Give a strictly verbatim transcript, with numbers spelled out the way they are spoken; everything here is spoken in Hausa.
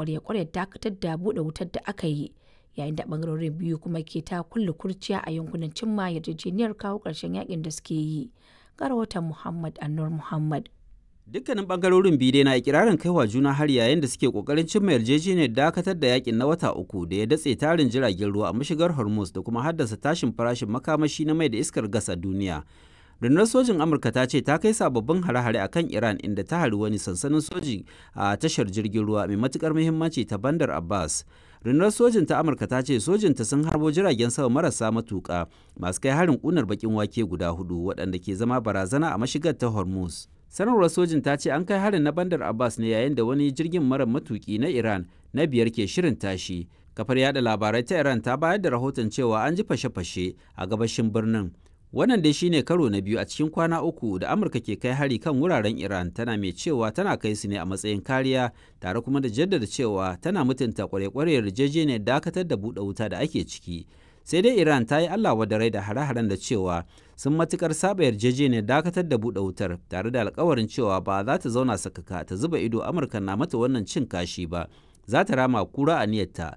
Ƙwarya-ƙwaryar dakatar da buɗe wutar da aka yi, yayin da ɓangarorin biyu kuma ke ta kulla kurciya a yankunan cimma yarjejeniyar kawo ƙarshen yakin da suke yi. Ga rahoton Muhammad Anur Muhammad. Dukkanin bangarorin biyu dai na ikirarin kaiwa juna har yayin da suke kokarin cimma yarjejeniyar dakatar da yakin na wata uku da ya datse tarin jiragen ruwa a mashigar Hormuz da kuma haddasa tashin farashin makamashi na mai da iskar gas a duniya. Rundunar sojin Amurka ta ce ta kai sababbin hare-hare a kan Iran, inda ta hari wani sansanin soji a tashar jirgin ruwa mai matukar muhimmanci ta Bandar Abbas. Rundunar sojin ta Amurka ta ce sojinta sun harbo jiragen sama marasa matuka masu kai harin kunar bakin wake guda hudu waɗanda ke zama barazana a mashigar ta Hormuz. Sanarwar sojin ta ce an kai harin na Bandar Abbas ne yayin da wani jirgin mara matuki na Iran na biyar ke shirin tashi. Kafar yada labarai ta Iran ta bayar da rahoton cewa an ji fashe-fashe a gabashin birnin. Wannan dai shine karo na biyu a cikin kwana uku da Amurka ke kai hari kan wuraren Iran, tana mai cewa tana kai su ne a matsayin kariya, tare kuma da jaddada cewa tana mutunta kwarekwarewar yarjejeniyar dakatar da buɗe wuta da ake ciki. Sai dai Iran ta yi Allah wadarai da hare-haren da cewa sun matukar saba yarjejeniyar dakatar da buɗe wutar, tare da alkawarin cewa ba za ta zauna sakaka ta zuba ido Amurka na mata wannan cin kashi ba, za ta rama kura a niyyarta.